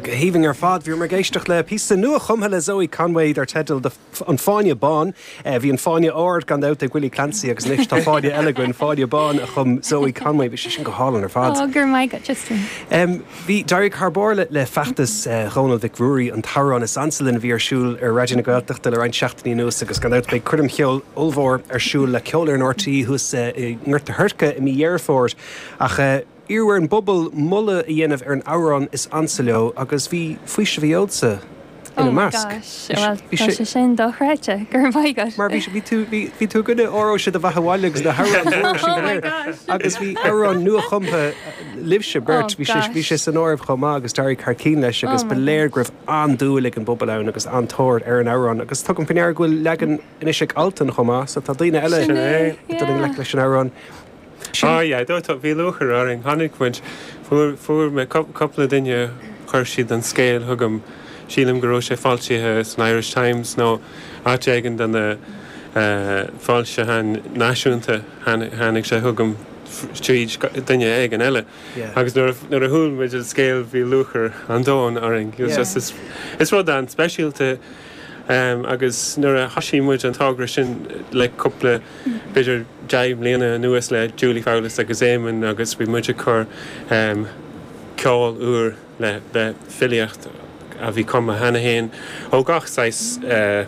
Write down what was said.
Go haoibhinn ar fad. Bhíomar ag éisteacht le píosa nua-chumtha le Zoe Conway dar teideal An Fáinne Bán. Bhí an Fáinne Ard gan dabht ag Willie Clancy agus anois tá fáinne eile againn, Fáinne Bán a chum Zoe Conway. Bhí sé sin go hálainn ar fad. Ó, go raibh maith agat, Justin. Bhí, d'éirigh thar barr le feachtas Dhónaill Mhic Ruairí, an t-amhrán is ansa linn a bhí ar siúl ar Raidió na Gaeltachta le roinnt seachtainí anuas agus gan dabht beidh coirm cheoil ollmhór ar siúl le Ceolfhoireann RTÉ thuas i nGort a' Choirce i mí Dheireadh Fómhair. Ach iarradh ar an bpobal moladh a dhéanamh ar an amhrán is ansa leo agus bhí Faoiseamh a Gheobhadsa ina Oh my measc. gosh, bhuel tá sé sin dochreidte, go raibh maith agat. Mar bhí bhí tú bhí bhí tú i gcoinne Óró Sé do Bheatha 'Bhaile agus na hamhráin mhóra sin Oh go my léir. gosh. Agus bhí amhrán nua-chumtha libhse Oh beirt, bhí sé bhí sé gosh. san áireamh chomh maith agus d'éirigh thar cinn leis Oh agus ba my léir gosh. go raibh an-dúil ag an bpobal ann agus an-tóir ar an amhrán agus tugaim faoi ndeara go bhfuil leagan anois ag Altan chomh maith so tá daoine eile Sin é, ag dul i ngleic yeah. leis an amhrán. Ah yeah, do, tá, bhí lúchair orainn. Tháinig muid, fuair, fuair mé cúpla duine, chuir siad an scéal chugam, sílim go raibh sé foilsithe san Irish Times nó áit éigin de na foilseacháin náisiúnta, tháinig sé chugam tríd duine éigin eile. Agus nuair a, nuair a chuala muid an scéal bhí lúchair an domhain orainn. It was just, is, is rud an-speisialta agus nuair a thosaigh muid an togra sin le cúpla, b'fhéidir 10 mbliana anuas le Julie Fowlis agus Éamonn agus bhí muid ag cur ceol úr le le filíocht a bhí cumtha cheana féin ó gach saghas linn.